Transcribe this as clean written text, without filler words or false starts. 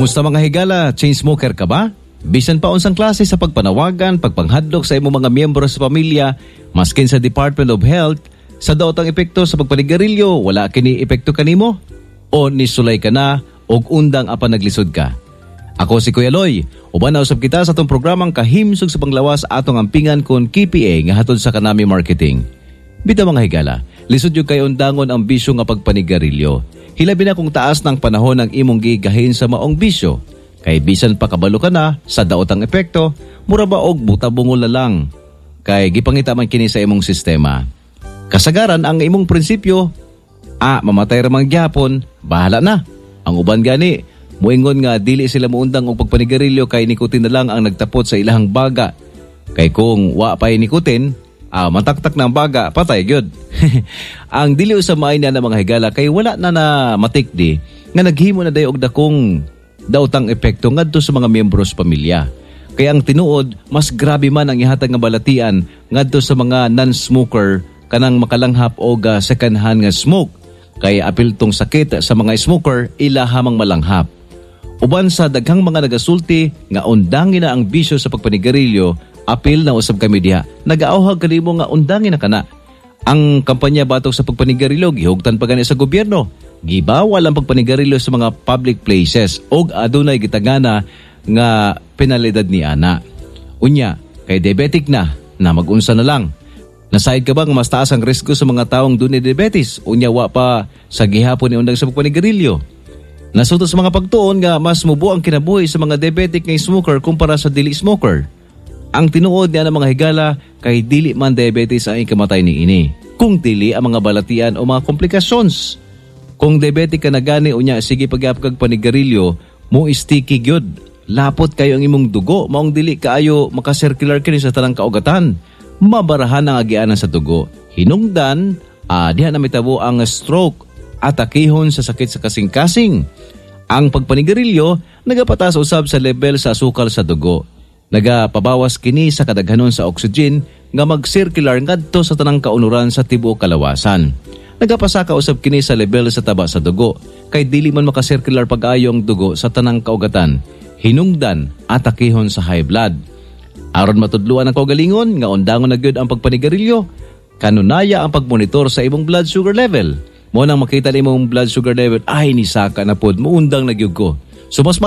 Kumusta, mga higala? Chain smoker ka ba? Bisan pa unsang klase sa pagpanawagan, pagpanghadlok sa imong mga miyembro sa pamilya, maskin sa Department of Health, sa daot ang epekto sa pagpanigarilyo, wala kini epekto kanimo? O nisulay ka na og undang apan naglisod ka? Ako si Kuya Loy. Uban na usab kita sa atong programang Kahimsog sa Panglawas, atong ampingan kon KPA nga hatod sa Kanami Marketing. Bitaw, mga higala, lisod gyud kay undangon ang bisyo nga pagpanigarilyo. Hilabi na kung taas ng panahon ang imong gigahin sa maong bisyo. Kay bisan pa kabalo ka na sa daot ang epekto, mura ba og buta-bungol na lang. Kay gipangita man kini sa imong sistema. Kasagaran ang imong prinsipyo, "Ah, mamatay ra man gyapon, bahala na." Ang uban gani, muingon nga dili sila muundang og pagpanigarilyo kay nikotin na lang ang nagtapot sa ilahang baga. Kay kung wa pa'y nikotin, mataktak na ang baga, patay gyud. Ang dili usab maay na mga higala kay wala na na matikdi nga naghimo na dayo og dakong daotang epekto ngadto sa mga miyembro sa pamilya. Kaya ang tinuod, mas grabe man ang ihatag nga balatian ngadto sa mga non-smoker kanang makalanghap og second hand nga smoke. Kay apil tong sakit sa mga smoker, ilaha mang malanghap. Uban sa daghang mga nagasulti nga undangin na ang bisyo sa pagpanigarilyo, apil na usab kami diha. Nagaauhag kanimo nga undangin na kana. Ang kampanya batok sa pagpanigarilyo gihugtan pa gani sa gobyerno. Gibawal ang pagpanigarilyo sa mga public places og adunay gitagana nga penalidad ni ana. Unya, kay diabetic na, na magunsa na lang. Nasayod ka ba nga mas taas ang risgo sa mga taong dunay diabetes? Unya wa pa sa gihapon ni undang sa pagpanigarilyo. Nasuto sa mga pagtuon nga mas mubo ang kinabuhi sa mga diabetic nga smoker kumpara sa dili smoker. Ang tinuod niya ng mga higala kay dili man diabetes ang ikamatay ni ini, kung dili ang mga balatian o mga komplikasyons. Kung diabetic ka na gani unya sige pagyap kag panigarilyo, mo sticky gyud. Lapot kayo ang imong dugo, maong dili kaayo makasircular kini sa tanang kaugatan. Mabarahan ang agianan sa dugo. Hinungdan, diha na mitabo ang stroke at akihon sa sakit sa kasing-kasing. Ang pagpanigarilyo nagapataas usab sa level sa asukal sa dugo. Nagapabawas kini sa kadaghanon sa oxygen nga mag-circular ngadto sa tanang kaunuran sa tibuok kalawasan. Nagapasaka usab kini sa level sa taba sa dugo kay dili man makasirkular pag-ayo ang dugo sa tanang kaugatan. Hinungdan atakihon sa high blood. Aron matudluan ang kaugalingon nga undangon na gyud ang pagpanigarilyo, kanunaya ang pagmonitor sa imong blood sugar level. Mo nang makita nimong blood sugar level ay nisaka na pod, muundang na gyud ko. So mas